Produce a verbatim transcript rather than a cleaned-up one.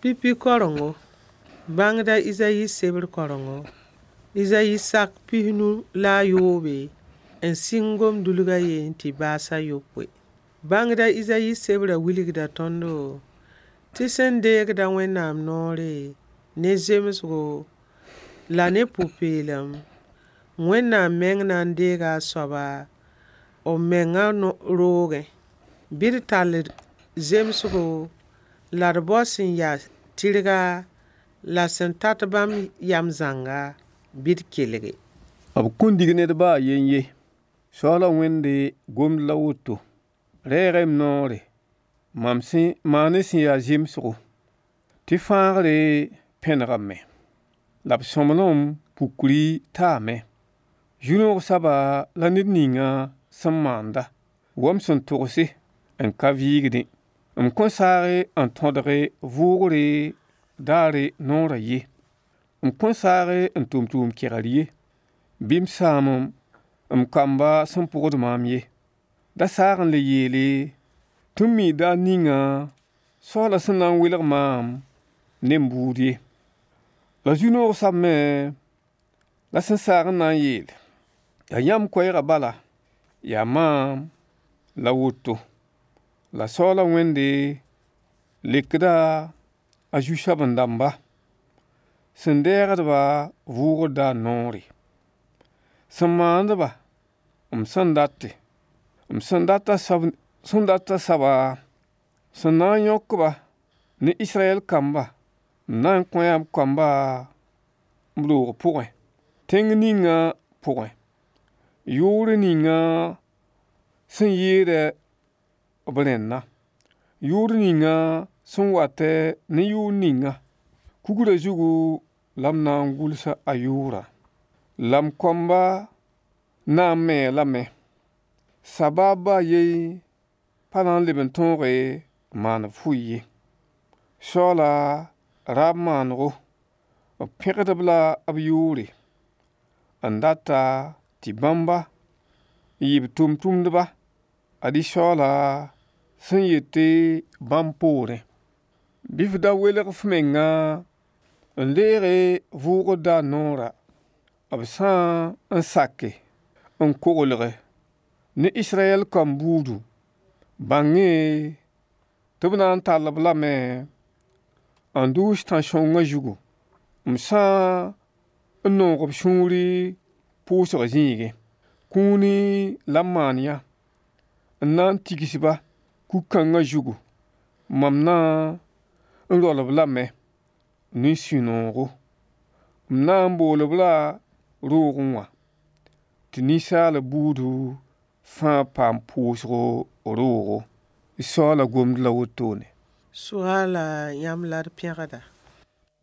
Pipi karengo, bãngda Izayi sebr karengo, Izayi sak pis-nu la a yoobe n sɩng gom-dulg a yen tɩ baas a yopoe. Bãngda Izayi sebrã wilgda tõndo tɩ sẽn deegd-a Wẽnnaam noore ne zemsgo la ne pʋ-peelem, Wẽnnaam meng na n deega a soaba b mengã roogẽ. Bɩ d tall zemsgo la d bao sẽn yaa tɩrga la sẽn tat bãmb yam zãnga, bɩ d kelge. B kõn dig ned ba a yen ye. Soaala Wẽnde gomd la woto: Reeg-y m noore, mam sẽn maan sẽn ya zemsgo, tɩ fãagre pẽnegame, la b sõmblem pukri taame. Zu-noog soaba la ned ninga sẽn maanda, wa m sẽn togse n ka vɩɩgdẽ. M kõn saag n tõdge vʋʋgre daare noorã ye. M kõn saag n tʋm tʋʋm-kegr ye, bɩ m sãam m kamba sẽn pʋgd maam ye. Da saag n le yeele tɩ m mii daar ninga Soaala sẽn na n welg maam ne m buud ye. La zu-noog soab me la sẽn saag n na n yeel: Yaa yãmb koɛɛgã bala, yaa maam la woto. La Soaala Wẽnde lekda a zu-soaben-dãmba sẽn deegd-ba vʋʋgr daar noore, sẽn maand-ba m sẽn date, m sẽn dat soab sẽn dat a soaba, sẽn na n yõk-ba ne Israyɛl kamba, m na n kõ-a b kamba b roog pʋgẽ, tẽng ninga pʋgẽ, yʋʋr ninga sẽn yeedã b rẽnna, yʋʋr ninga sẽn watɛ ne yʋʋr ninga. Kugrã zugu la m na n gʋlsa a yʋʋrã. La m kõmba na n me-a lame. Sabaab ba a yen pa na n leb n tõoge n maan b fʋɩ ye. Soaala raab maanego, b pẽgd-b la b yʋʋre, n data tɩ bãmba n yɩ b tʋmtʋmdba. Ad-y Soaala sẽn yet bãmb poorẽ. Bɩ f da welg f menga n deege vʋʋgr daar noorã, b sã n sake n koglge ne Israyɛl kamb buudu, bãng-y tɩ b na n tall-b lame n dʋʋs tãn-sõngã zugu, m sã n noog b sũuri pʋʋsg zĩigẽ. Kũuni la m maan yã n na n tigs-ba kug-kãngã zugu. Mam na n roal-b lame ne sũ-noogo. M na n bool-b la roogẽ wã, tɩ ninsaalb buudu fãa paam pʋʋsgo roogo. Soaala gomd la wotone. Soaala yãmb la d pẽgda.